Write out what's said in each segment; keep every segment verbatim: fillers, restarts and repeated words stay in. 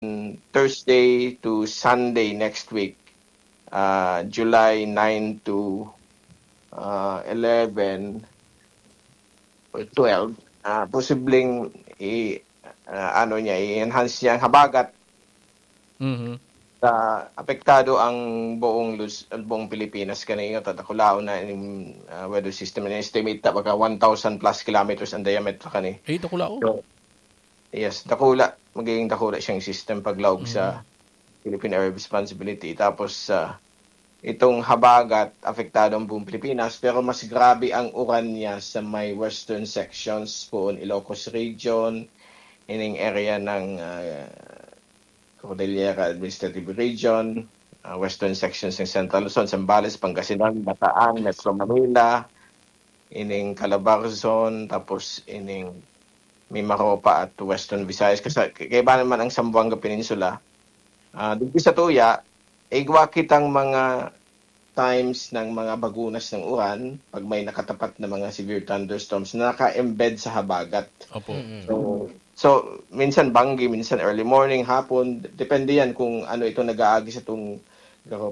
Thursday to Sunday next week, ah, July nine to, ah, eleven or twelve, ah, posibleng i-, ah, ano niya, i-enhance niya ang habagat. Mhm. Sa apektado ang buong Luz-, buong Pilipinas kani, ta dakulaon na ining, ah, weather system. Ini-estimate ta baga one thousand plus kilometers ang diameter kani. Ay, dakulaon. So, yes, dakula. Magiging dakula siyang system paglaog sa Philippine Area of Responsibility. Tapos, ah, itong habagat, apektado ang buong Pilipinas, pero mas grabe ang uran niya sa may western sections, poon Ilocos Region, ining area ng, ah, Cordillera Administrative Region, ah, western sections ng Central Luzon, Zambales, Pangasinan, Bataan, Metro Manila, ining Calabarzon, tapos ining Mimaropa at Western Visayas. Kasi kaiba naman ang Zamboanga Peninsula. Ah, digdi sa tuya, igwa kitang mga times ng mga bagunas ng uran pag may nakatapat na mga severe thunderstorms na naka-embed sa habagat. Opo. Mm. So, so minsan banggi, minsan early morning, hapon, depende yan kung ano ito nag-aagi sa itong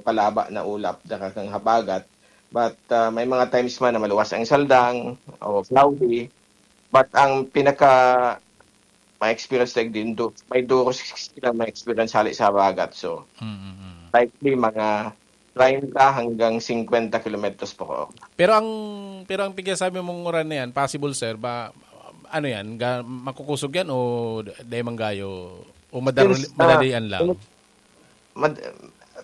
palaba na ulap, dara kang habagat. But ah, may mga times man na maluwas ang saldang o cloudy. But ang pinaka ma-experience na din, do, may duros silang ma-experience hali sa habagat. So, Mm-mm. likely mga treinta hanggang cincuenta kilometers per hour. Pero ang pero ang pigsasabi mong uran na yan, possible sir, ba ano yan, ga, makukusog yan o dai man gayo o madar, Since, ah, madalian lang? Mad,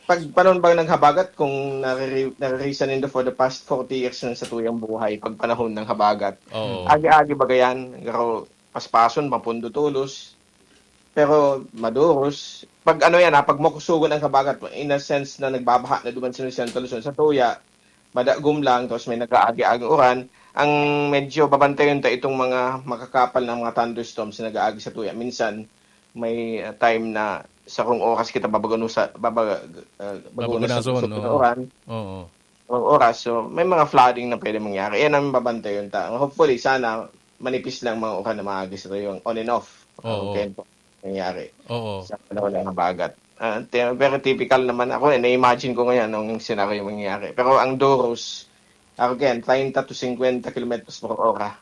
pag panahon ba ng habagat, kung nariri, naririsan nindo for the past forty years ng satuyang buhay, pag panahon ng habagat, Oo. agi-agi baga yan, pero paspason, mapundo tolos, pero maduros. Pag ano yan ha, pag makusugon ang habagat, in a sense na nagbabaha na duman sa Central Luzon, sa tuya, madagom lang, tapos may nag-aagi-agi uran. Ang medyo babantayan ta itong mga makakapal na mga thunderstorms na nag-aagi sa tuya. Minsan, may uh, time na sarong oras kita babagunusa, babaga, uh, bagunas sa Babagunason, kusog na oo. uran. Oo. Ang oras, so may mga flooding na pwede mangyari. Yan ang babantayan ta. Hopefully, sana manipis lang mga uran na maagi sa tuya, on and off. Oo. Okay, nangyari Oo. sa panahon ng habagat. Ah, te- very typical naman. Ako, eh, na-imagine ko ngayon anong scenario mangyayari. Pero ang duros, again, treinta to cincuenta kilometers per hora.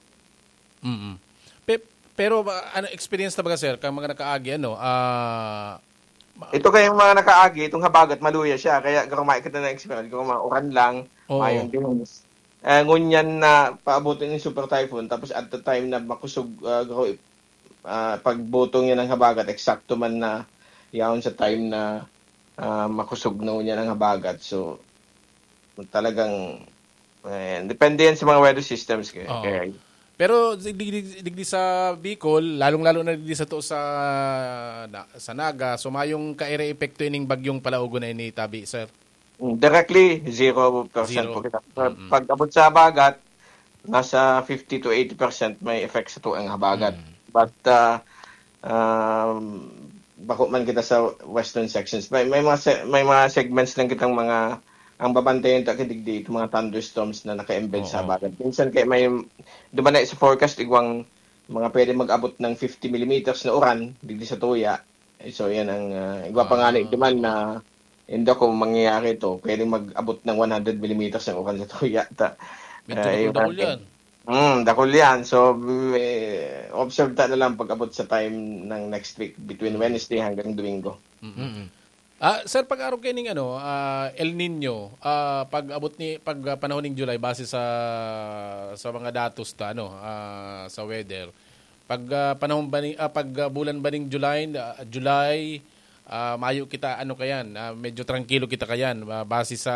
Mm. Pe, pero ba, ano experience na ba sir kang mga nakaagi ano? Ah, Ito kayong mga nakaagi, itong habagat, maluya siya. Kaya kung makikita na experience, kung mga uran lang, Oo. mayong dunes. Eh, ngunyan na paabutin yung super typhoon, tapos at the time na makusog, ah, garo-, ah, pagbutong niya ng habagat, eksakto man na yaon sa time na ah, makusog na niya ng habagat. So, talagang, eh, depende yan sa mga weather systems. Kaya, Oo. kaya Pero digdi, digdi sa Bicol, lalong-lalo na digdi sa to sa na, sa Naga, so mayong kaire epekto ining bagyong palaugon na ini, tabi, sir. Mm, directly, zero percent Zero. po kita. Mm. Pag abot sa habagat, nasa fifty to eighty percent may effect sa tuang habagat. Mm. But, ah, um, bako man kita sa western sections. May, may mga se-, may mga segments lang kitang mga, ang babantayan ta kadigdi, itong mga thunderstorms na naka-embed sa Oo. habagat. Minsan kaya may, duman na sa forecast, igwang mga pwede mag-abot ng fifty millimeters na uran, digdi sa tuya. So, yan ang, ah, igwa pa nga na Ah. duman na, hindi ko mangyayari ito, pwedeng mag-abot ng one hundred millimeters ng uran sa tuya. Ta, Medyo ah, dakul-dakul yung- yan. Mm, dakul yan. So, may, observe ta na lang pag-abot sa time ng next week, between Wednesday hanggang Domingo. Mm. Ah, sir, pag-arog kayo ning ano, ah, El Nino, ah, pag abot ni pag ah, panahon ning July base sa sa mga datos ta ano, ah, sa weather. Pag ah, panahon ba ni ah, pag ah, bulan ba ning July, ah, July, ah, mayo kita ano kayan, ah, medyo trangkilo kita kayan ah, base sa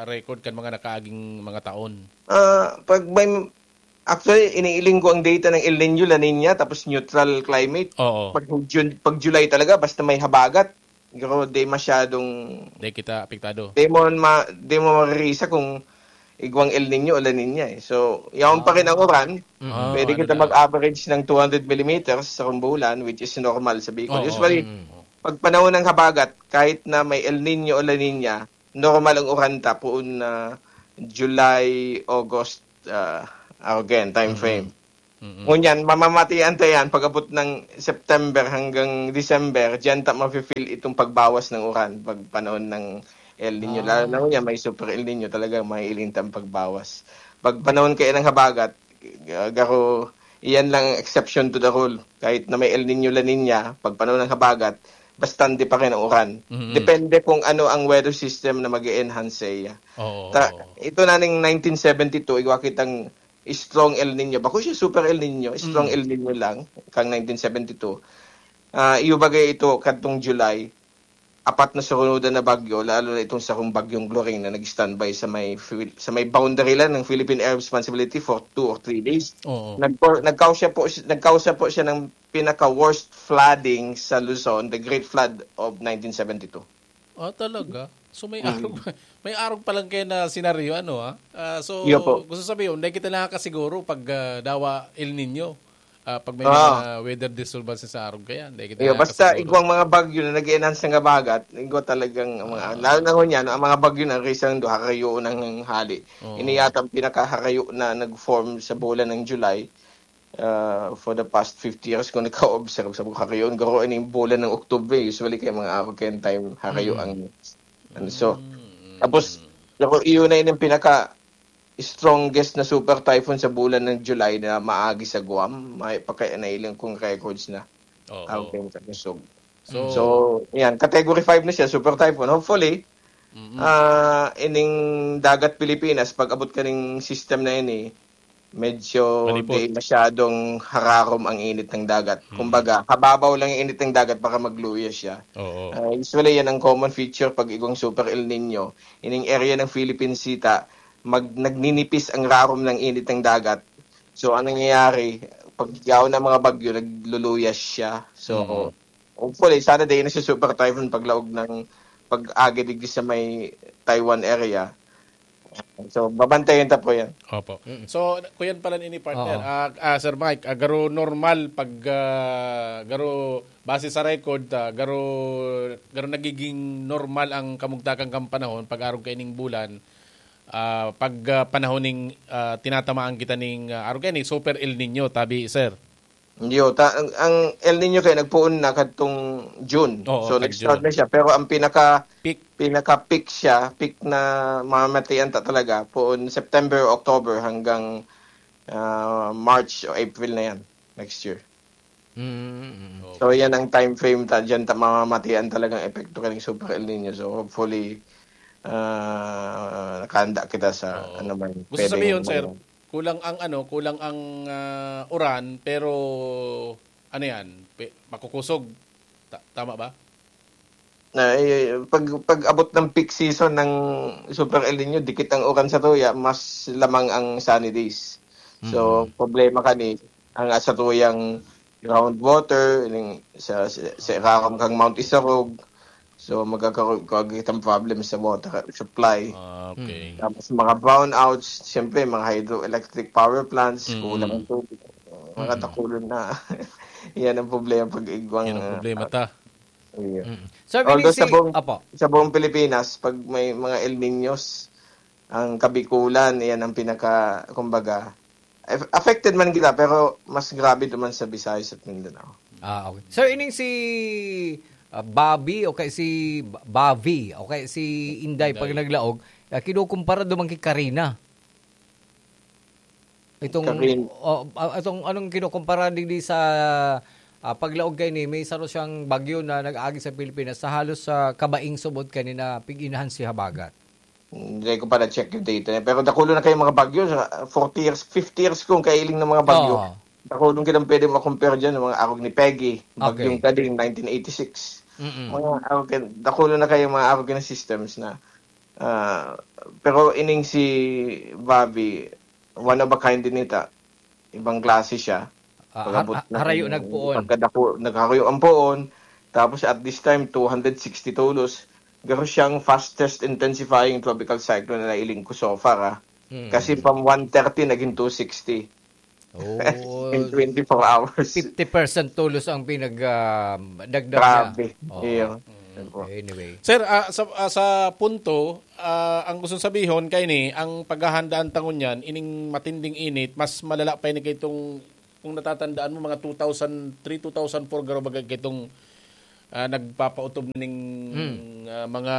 record kan mga nakaaging mga taon. Ah, pag may, actually, iniiling ko ang data ng El Nino, La Nina, tapos neutral climate. Oo. Pag, June, pag July talaga, basta may habagat, pero di masyadong, Di kita apektado. di mo, ma, di mo maririsa kung igwang El Nino o La Nina eh. So, yaon pa rin ang uran, Ah, pwede ano kita na. mag-average ng two hundred millimeters sa bulan, which is normal sa Bicol. Oo. Usually, Mm. pag panahon ng habagat, kahit na may El Nino o La Nina, normal ang uran ta poon na July, August, ah, again, time frame. Ngunyan, mamamatian ta yan pag-abot ng September hanggang December, diyan ta mafe-feel itong pagbawas ng uran pag panahon ng El Niño. Lalo na ngunyan, may super El Niño, talagang maiiling ta ang pagbawas. Pag panahon kaya ng habagat, ah, garo, iyan lang ang exception to the rule. Kahit na may El Niño, La Niña, pag panahon ng habagat, bastante pa rin ang uran. Mhm. Depende kung ano ang weather system na mag-enhance sa iya. Oo. Ta, ito na ning nineteen seventy-two, igwa kitang strong El Niño. Bako siya super El Niño, strong Mm. El Niño lang, kang nineteen seventy-two. Ah, iyo bagay ito kadtong July, apat na surunodan na bagyo, lalo na itong sarong bagyong Gloria na nag-standby sa may Phil-, sa may boundary lang ng Philippine Air Responsibility for two or three days. Oo. Nagpo-, nagkausa po, nagkausa po siya ng pinaka-worst flooding sa Luzon, the Great Flood of nineteen seventy-two. Ah, talaga? So may arog, may arog pa lang kayo na senaryo, ano, ah? Ah, so, Iyo po. gusto sabihin, hindi kita nakakasiguro pag ah, dawa El Nino. Ah, pag may Ah. mga weather disturbances sa arog kaya, hindi kita Iyo, basta nakakasiguro. igwang mga bagyo na nag-enhance ng habagat, igwa talagang mga, Ah. lalo na ngunyan, ang mga bagyo na risang do, harayo ng hali. Oo. Ini yata ang pinakaharayo na nag-form sa bulan ng July. Ah, for the past fifty years, kung nagka-observe sa mga harayo, garo ini yung bulan ng October. Usually, kaya mga arog kayong time, harayo Mm. ang, ano, so, Mm. tapos, garo, iyon na yun yung pinaka strongest na super typhoon sa bulan ng July na maagi sa Guam. May pa kaya nailing kong records na. Oo. Arog kayong Tagasog. So, So, yan, category five na siya, super typhoon. Hopefully, mm-mm. ah, ining dagat Pilipinas, pag abot ka ning system na ini, medyo Malipot. di masyadong hararom ang init ng dagat. Mm. Kumbaga, hababaw lang yung init ng dagat para magluya siya. Oo. Ah, usually, yan ang common feature pag igwang super El Nino. Ining area ng Philippine Sea, ta, mag, nagninipis ang rarom ng init ng dagat. So, anong nangyayari? Pag yaon ng mga bagyo, nagluluya siya. So, Mm. hopefully, sana di na siya super typhoon paglaog ng pag-agi digdi sa may Taiwan area. So, babantayan ta po yan. Opo. So, kuyan pala ini, partner. Oo. Ah, ah, Sir Mike, ah, garo normal pag ah, garo base sa record, ah, garo garo nagiging normal ang kamugtakan kan panahon pag arog kaining bulan. Ah, pag ah, panahon ning ah, tinatamaan kita ning ah, arog kaining super El Nino, tabi, sir. Hindi, oh, ta, ang, ang El Nino kayo nagpuon na kadtong June. Oo, So, kadtong nag-start June. na siya. Pero ang pinaka Peak. pinaka-peak siya, peak na mamamatian ta talaga, puon September, October hanggang ah, March o April na yan next year. Mm. So, yan ang time frame ta, dyan ta mamamatian talagang epekto kaning Super El Nino. So, hopefully, ah, nakahanda kita sa Oo. ano man. Gusto pwedeng sabihin, sir, ano. Kulang ang ano, kulang ang ah, uran, pero ano yan, pe- makukusog. Ta- tama ba? Na, eh, pag, pag abot ng peak season ng Super El Nino, dikit ang uran sa tuya, mas lamang ang sunny days. So, Mm. problema kani, ang sa tuyang groundwater, ining sa, sa, sa irarom kang Mount Isarog, so magkakaroon ka kitang problem sa water supply. Ah, okay. Tapos mga brownouts, siyempre mga hydroelectric power plants, Mm. kulang ang tubig. Mga Mm. dakulon na. Yan ang problema pag igwang. Yan ang ah, problema ta. Iya. Mm. Sir, Although Vinny, sa si... buong, Apo. sa buong Pilipinas, pag may mga El Niños, ang Kabikulan, yan ang pinaka, kumbaga, aff- affected man kita, pero mas grabe naman sa Visayas at Mindanao. Ah, okay. Sir, ining si ah, Bobby o kay si Ba- Bavi o kay si Inday pag Inday. naglaog, ah, kinukumpara duman kay Karina. Itong Karin- oh, ah, itong anong kinukumpara digdi sa ah, paglaog kay ni may saro siyang bagyo na nag-agi sa Pilipinas sa halos sa kabaing subot kay ni na pig-inahan si habagat. Hindi ko pa na-check yung data niya. Pero dakulo na kayong mga bagyo. Sa forty years, fifty years kong kailing ng mga bagyo. Oo. Dakulo kitang pwede makompare dyan. Mga arog ni Peggy, bagyong Okay. Kading, nineteen eighty-six. Mm-mm. Mga arog, dakulo na kayong mga arog na systems na. Ah, pero ining si Bobby, one of a kind din ita. Ibang klase siya. Ah, Pag-abot har- na harayo ng nagpuon. Pagkadaku, nagharayo ang puon. Tapos at this time, two hundred sixty tolos. Garo siyang fastest intensifying tropical cyclone na nailing ko so far. Ah. Mm. Kasi from one thirty, naging two sixty Oh, in twenty-four hours. fifty percent tulos ang pinag ah, dagdag niya. Grabe. Oo. Iyo. Anyway. Sir, ah, sa, ah, sa punto, ah, ang gusto sabihon kay ni, ang paghahandaan tangon niyan, ining matinding init, mas malala pa ini kay itong Kung natatandaan mo, mga two thousand three, two thousand four, garo baga kaitong, ah, nagpapautob na ning, Hmm. ah, mga,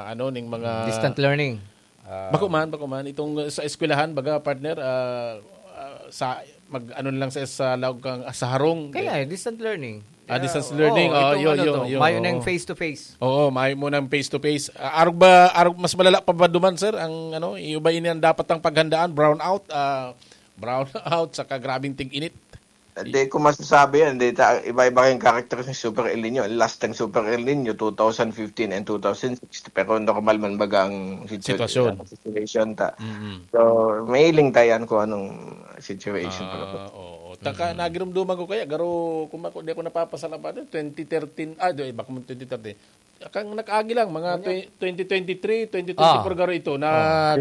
ano, ning mga Distant learning. Ah, bako man, bako man. Itong sa eskwelahan, baga, partner, ah, ah, sa, mag, ano lang sa, sa laog kang, ah, sa harong. Kaya, eh, distant learning. Ah, distance learning. Oo, ah, itong yo, ano yo, to, yo, mayo na yung oo. Face to face. Oo, mayo mo ng face to face. Ah, arog ba, arog, mas malala pa ba duman, sir? Ang, ano, iyo ba ini ang dapat ang paghandaan? Brown out, ah, brown out, saka grabing tig-init. Hindi ko masasabi yan. Hindi, ta-, iba-iba yung character ng Super El Nino. Ang last ng Super El Nino, two thousand fifteen and two thousand six. Pero normal man baga ang situ-, Sitwasyon. Ang situation ta. Mm-mm. So, mahiling tayo yan kung anong situation. Ah, oo. Taka, Mm-mm. nagirumduman ko kaya, garo, kung ako, di ako napapasalamatan, twenty thirteen, ah, di, baka mo twenty thirteen. Kang nag-agi lang, mga Ano? twe-, twenty twenty-three, twenty twenty-four Ah. garo ito, na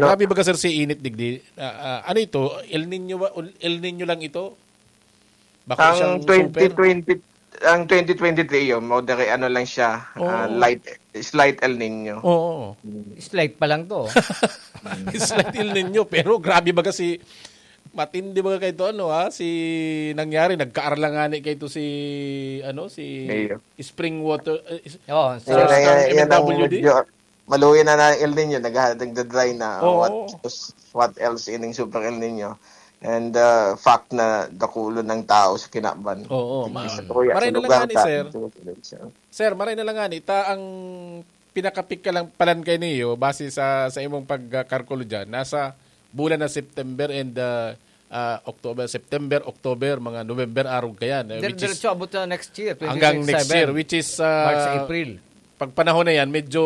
Oh. grabe baga, sir, si init digdi. Ah, ah, ano ito? El Nino ba? El Nino lang ito? Bako Ang siyang twenty twenty, super? ang twenty twenty-three yun, moderate, ano lang siya, Oo. ah, light, slight El Nino. Oo. Mm. Slight pa lang to. Slight El Nino, pero grabe baga si, matindi baga kaito, ano, ha? Si, nangyari, nagkaarlangan ni kaito si, ano, si Iyo. Spring Water, eh, is-, Oo, sa Yan, yan, yan ang M W D? medyo maluya na na El Nino, nagha-, nagda-dry na. Oo. What, what else ining Super El Nino? And, uh, fact na dakulon ng tao sa kinaban. Oo, Hindi ma-, sa tuya, maray sa na lang lugar nga ni ta, sir. Sa lugar sa Sir, maray na lang nga ni, ta ang pinakapikalang palan kay niyo, base sa, sa imong pagkakalkulo dyan, nasa bulan na September and, uh, uh, October, September, October, mga November, arog kayan. Eh, Dir-, which is diretso abot na next year, hanggang next twenty twenty-seven. Year, which is, uh, March, April. Pag panahon na yan, medyo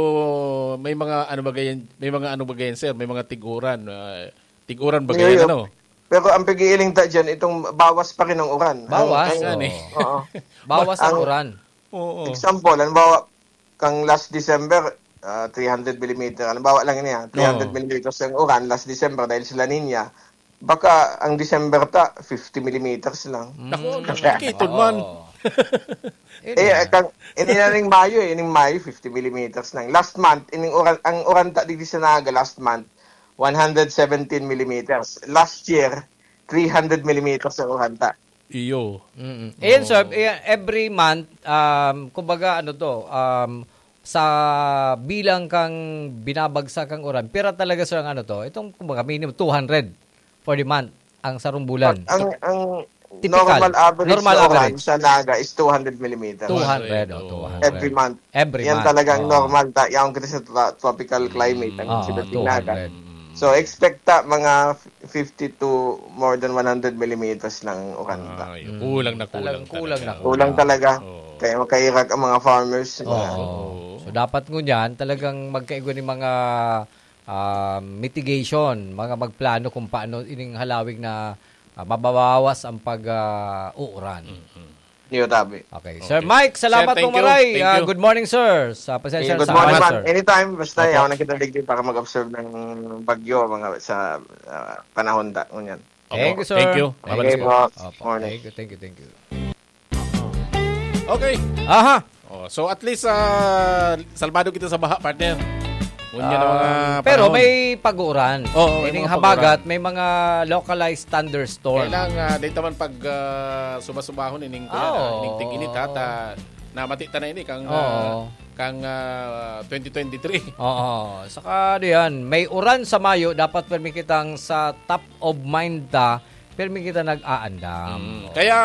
may mga ano ba yan, may mga ano ba yan, sir? May mga tiguran, uh, tiguran ba Ngayon, yan, ano? Pero ang pag-iiling ta dyan, itong bawas pa rin ang uran. Bawas? Ang, ang, Yan eh. Oo. Bawas ang Ang uran. Oo. Example, halimbawa, kang last December, ah, three hundred millimeter. Halimbawa lang niya, Oo. three hundred millimeters ang uran last December dahil sa La Nina. Baka ang December ta, fifty millimeters lang. Naku, Mm. nakikitod man. Oo. Yun Eh, nga. kang, ini na ning Mayo eh, ining Mayo, fifty millimeters lang. Last month, ining uran, ang uran ta digdi sa Naga last month, one hundred seventeen millimeters. Last year, three hundred millimeters ang uran ta. Iyo. Mm-mm. Ayan, sir, Oo. eh, every month, um, kumbaga, ano to, um, sa bilang kang binabagsak ang uran, pira talaga, sir, ang ano to, itong, kumbaga, minimum two hundred for the month, ang sarong bulan. Pag ang, ang Typical. Normal average Normal na uran average. sa Naga is two hundred millimeters. Two hundred, oh, Oo. two hundred. Every month. Every Yan month. talagang Oo. normal. Ta-, yaon kita sa tro-, tropical climate, ang Mm. Ah, sibat ng Naga. two hundred. So, expect ta mga fifty to more than one hundred millimeters lang ang uran ta. Ay, Mm. kulang na kulang Talagang kulang talaga. na Kulang kulang. talaga. Oo. Kaya makairag ang mga farmers. Oo. Oo. So, dapat ngunyan, talagang magkaigwa ni mga, ah, mitigation, mga magplano kung paano ining halawig na, ah, mababawas ang pag, ah, uuran. Mm-mm. Niyo tabi. Okay. Okay. Sir Mike, salamat Sir, thank pong you. maray. Thank Ah, you. good morning, sir. Sa pasensya Sige, good sa morning, oras, man. sir. Anytime, basta Opo. yaon na kita digdi para mag-observe ng bagyo, mga sa, ah, panahon ta, ngunyan. Opo. Thank you, sir. Thank you. Okay Maraming po. salamat. Opo. Morning. Thank you, thank you, thank you. Okay. Aha. Oh, so at least, ah, salbado kita sa baha, partner. Ngunyan ang mga Ah, pero panahon. may pag-uuran. Oo, may Ining mga habagat, pag-uuran. may mga localized thunderstorm. Kailang, ah, dito man pag, ah, subasubahon ining kuwan, Ah, ah, ining oo. tig-init, ha, ta-, namati ta na ini kang, ah, Oo. kang, ah, twenty twenty-three. Oo. Saka diyan, may uran sa Mayo, dapat permi kitang sa top of mind ta, permi kita nag-aandam. Mm. Oo. Kaya,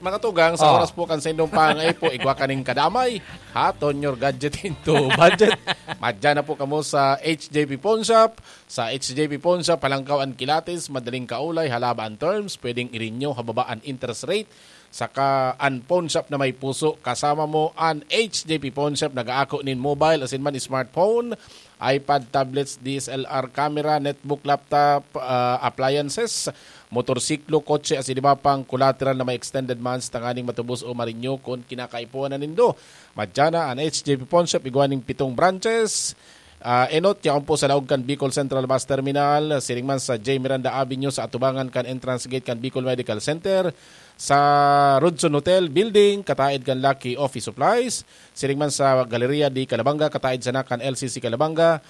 mga tugang, sa Oh. oras po kan sa indong pangaipo, igwa kaning kadamay, ha, turn your gadget into budget. Madyan na po kamo sa H J P Pawn Shop. Sa H J P Pawn Shop, halangkaw an kilatis, madaling kaulay, halaba an terms, pwedeng i-renew, hababa an interest rate, saka an pawn shop na may puso. Kasama mo an H J P Pawn Shop, nag-aako nin mobile, asin man smartphone, iPad, tablets, D S L R camera, netbook, laptop, ah, appliances, motorsiklo, kotse, asin iba pang collateral na may extended months tanganing matubos o ma-renew kun kinakaipuhan na nindo. Madyan na an H J P Pawn Shop, igwa nin pitong branches. Ah, enot, yaon po sa laog kan Bicol Central Bus Terminal, siring man sa J Miranda Avenue sa atubangan kan entrance gate kan Bicol Medical Center, sa Rodson Hotel Building, kataed kan Lucky Office Supplies, siring man sa Galleria de Calabanga, kataed sana kan L C C Calabanga,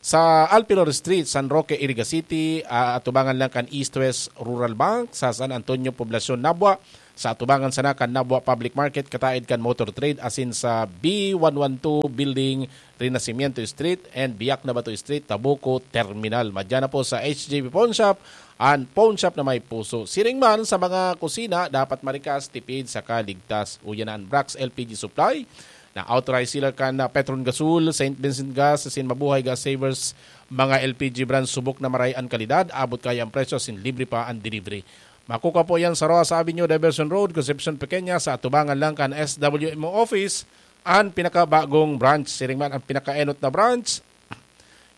Sa Alpilor Street, San Roque, Iriga City, ah, atubangan lang kan East West Rural Bank, sa San Antonio, Poblacion, Nabua, sa atubangan sana kan Nabua Public Market, kataed kan Motor Trade, asin sa B one one two Building, Renacimiento Street and Biak na Bato Street, Tabuco Terminal. Madya na po sa H J B Pawn Shop, an pawn shop na may puso. Siring man sa mga kusina, dapat marikas, tipid, saka ligtas. Uya na an Brax L P G Supply, na authorized seller kan na Petron Gasol, Saint Vincent Gas, asin Mabuhay Gas Savers, mga L P G brand, subok na maray an kalidad, abot kaya an presyo, asin libre pa an delivery. Makukuha po yan sa Rojas Avenue, Diversion Road, Concepcion Pequeña, sa atubangan lang kan S W M O office, an pinakabagong branch. Siring man an pinakaenot na branch,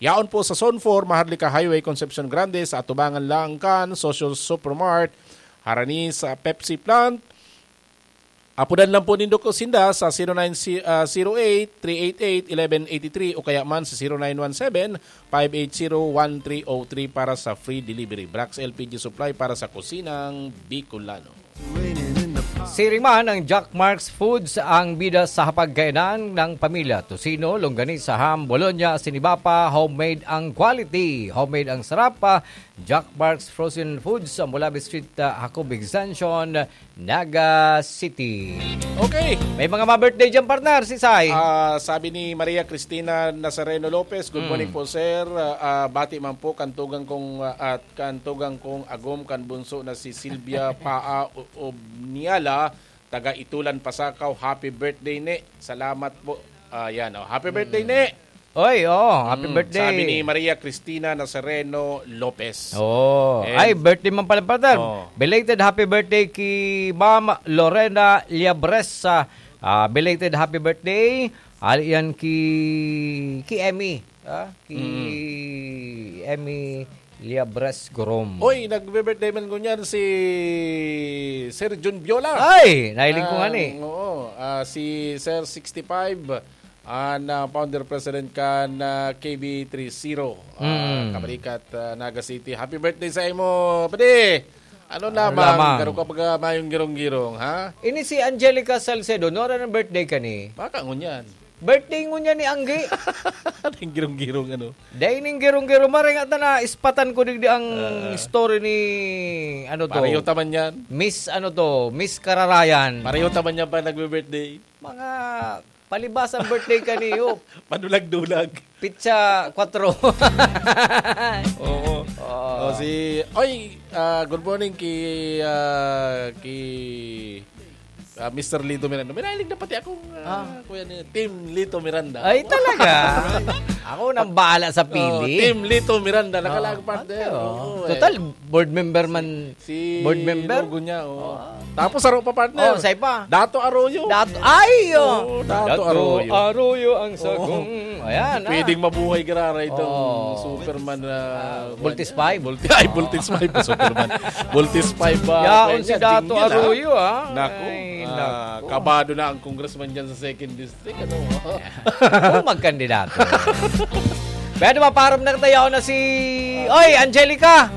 yaon po sa Zone four, Maharlika Highway, Concepcion Grande, sa atubangan lang kan Social Supermart, harani sa Pepsi plant. Apodan lang po nindo ko sinda sa zero nine, ah, zero eight, three eight eight, eleven eighty-three o kaya man sa zero nine one seven, five eight zero, one three oh three para sa free delivery. Brax L P G Supply para sa kusinang Bicolano. Siring man ang Jack Mark's Foods, ang bida sa hapagkainan ng pamilya. Tocino, longganisa, ham, bologna, asin iba pa, homemade ang quality, homemade ang sarap. Ah, Jack Mark's Frozen Foods sa Mulabi Street, ah, Jacob Extension, Naga City. Okay. May mga ma-birthday dyan, partner, si Sai. Ah, sabi ni Maria Cristina Nazareno Lopez, "Good Mm. morning po, sir. Ah, ah, bati man po kan tugang kong, ah, at kan tugang kong agom kan bunso na si Silvia Paa O-, Obniala, taga Itulan, Pasacao. Happy birthday, ne. Salamat po." Ah, yan, oh. Happy birthday, Mm. ne. Oy, oh, happy Mm, birthday. Sabi ni Maria Cristina Nazareno Lopez. Oh, And ay, birthday man pala, partner. Oh. Belated happy birthday ki Ma'am Lorena Liabres. Ah, ah, belated happy birthday. Ali yan ki, ki Emmy. Ah, ki Mm. Emmy Liabres Gorom. Oy, nagbe-birthday man ngunyan si Sir Jun Viola. Ay, nahiling ko nga Ah, ni. Oo, ah, si Sir sixty-five, ah, na founder president kan, ah, K B three zero, ah, Mm. Kabalikat, ah, Naga City. Happy birthday sa imo, padi! Ano Ano lamang, lamang? Garo ka pag, ah, mayong girong-girong, ha? Ini si Angelica Salcedo, nora ng birthday ka ni? Baka ngunyan. Birthday ngunyan ni Anggi. Anong girong-girong, ano? Dahil ning girong-girong, maring ata na ispatan ko digdi ang Ah. story ni, ano to? Pareho taman yan. Miss, ano to? Miss Kararayan. Pareho taman yan pa nagbe-birthday. Mga palibas ang birthday kaniyo. Padulag-dulag. Pitsa kwatro. Oo. Oo. Oh, si, oy, ah, good morning ki, ah, ki, ah, Mister Lito Miranda. May nahiling na pati akong, ah, Ah. kuya ni Team Lito Miranda. Ay, talaga? Ako nang bahala sa Oh, pili. Team Lito Miranda. Nakalaag, Ah, partner. ano? Oo, eh. Total, board member man. Si Board member? Logo niya, oh. Ah. Tapos, aro pa, partner. Oh, say pa. Dato Arroyo. Dato, ay, oh. Oo, Dato Dato Arroyo. Arroyo ang Oo. sagong. Ayan, ah. Pwedeng mabuhay, Gerara, itong Oh. Superman na Ah, Voltes five. Voltes, ay, Voltes five pa, Superman. Voltes five ba? Yaon Kaya si niya, Dato jingle, ah. Arroyo, ah. Naku, Ay, ah, naku. kabado na ang congressman dyan sa second district, ano? Oh, magkandidato. Pero maparam na tayo na si, oy, Angelica.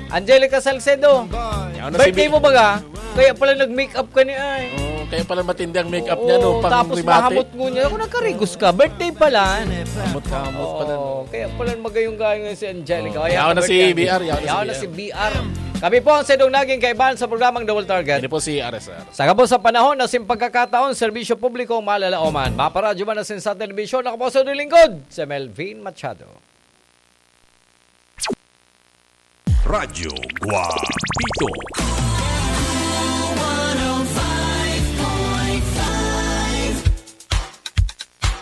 Angelica Salcedo. Yaon na si Birthday Bi- mo baga? Kaya pala nag-makeup ka ni ay. Oh, kaya pala matindi ang makeup niya, no? Oo, Pang tapos remate. mahamot ngunyan. Ako, nagkarigos ka. Birthday pala. Hamot-hamot pala, no? Oo, kaya pala magayong-gayong si Angelica. Oh, Ayan, yaon na si birthday. B R, yaon na si Yaon na B R. si B R. Kami po ang Sedong Naging Kaibahan sa programang Double Target. Ini po si R S R. Sa gabos sa panahon na sin pagkakataon, serbisyo publiko malalaoman. Maparadyo man na sin sa telebisyon, ako po sa lingkod, si Melvin Machado. Radyo Guapito.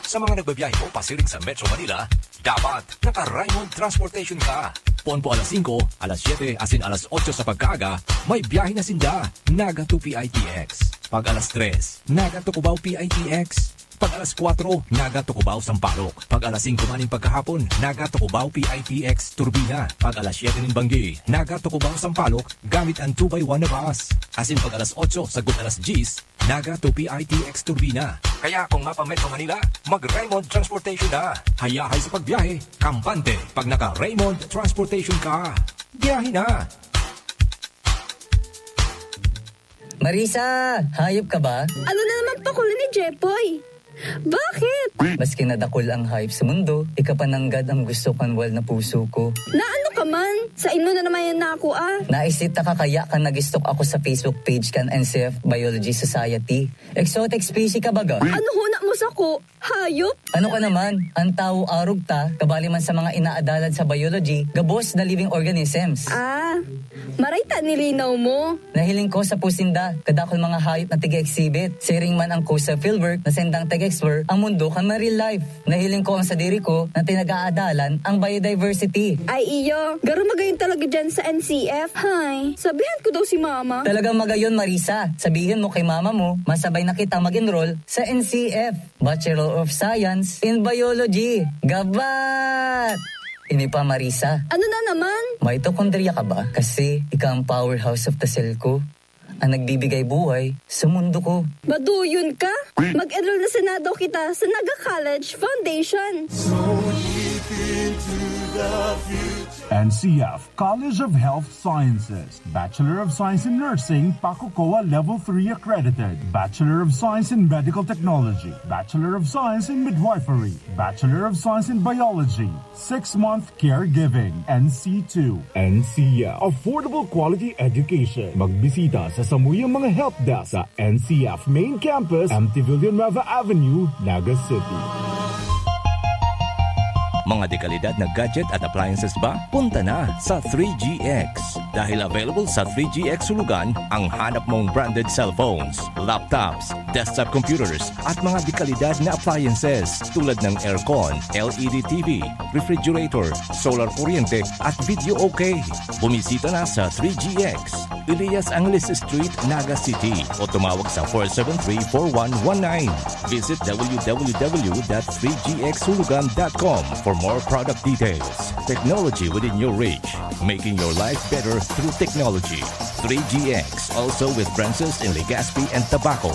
Sa mga nagbabiyahe po pasiring sa Metro Manila, dapat naka-Raymond Transportation ka. Poon po alas singko, alas siyete, asin alas otso sa pagkaaga, may biyahe na sinda, Naga to P I T X. Pag alas tres, Naga to Cubao P I T X. Pag alas kwatro, Naga to Cubao Sampaloc. Pag alas singko man nin pagkahapon, Naga to Cubao P I T X Turbina. Pag alas siyete nin banggi, Naga to Cubao Sampaloc, gamit an two by one na bus. Asin pag alas otso sagkod alas dyes, Naga to P I T X Turbina. Kaya kung mapa-Metro Manila, mag-Raymond Transportation na. Hayahay sa pagbiyahe, kampante pag naka-Raymond Transportation ka. Biyahe na! Marisa, hayop ka ba? Ano na naman pakul ni Jepoy? Bakit? Maski na dakul ang hype sa mundo, ika pa nanggad ang gusto kan wal na puso ko. Na ano ka man? Sa ino na naman yan na ako, ah? Naisita ka kaya kan nag-stalk ako sa Facebook page kan N C F Biology Society. Exotic species ka baga? Ano huna mo sa ko? Hayop? Ano ka naman? Ang tao arog ta, kabali man sa mga inaadalan sa biology, gabos na living organisms. Ah, maray ta nilinaw mo. Nahiling ko sa pusinda, kadakol mga hayop na tiga-exhibit. Siring man ang ko sa fieldwork na sendang tag-explore ang mundo kan marine life. Nahiling ko ang sadiri ko na tinag-aadalan ang biodiversity. Ay iyo, garo magayon talaga dyan sa N C F. Hay, sabihan ko daw si mama. Talagang magayon, Marisa. Sabihin mo kay mama mo, masabay na kita mag-enroll sa N C F, Bachelor of Science in Biology. Gabat! Ini pa, Marisa. Ano na naman? Mitochondria ka ba? Kasi ika ang powerhouse of the cell ko. Ang nagbibigay buhay sa mundo ko. Baduyon ka? Mag-enroll na sana daw kita sa Naga College Foundation. N C F College of Health Sciences, Bachelor of Science in Nursing, PACUCOA Level three accredited, Bachelor of Science in Medical Technology, Bachelor of Science in Midwifery, Bachelor of Science in Biology, six-month caregiving, N C two. N C F, affordable quality education. Magbisita sa samuyang mga help desk sa N C F Main Campus, M T Villanueva Avenue, Naga City. Mga dekalidad na gadget at appliances ba? Punta na sa three G X. Dahil available sa three G X Hulugan ang hanap mong branded cellphones, laptops, desktop computers at mga dekalidad na appliances tulad ng aircon, L E D T V, refrigerator, solar kuryente at video okay. Bumisita na sa three G X, Elias Angeles Street, Naga City o tumawag sa four seven three, four one one nine. Visit w w w dot three g x hulugan dot com for more product details. Technology within your reach, making your life better through technology. three G X, also with branches in Legazpi and Tabaco.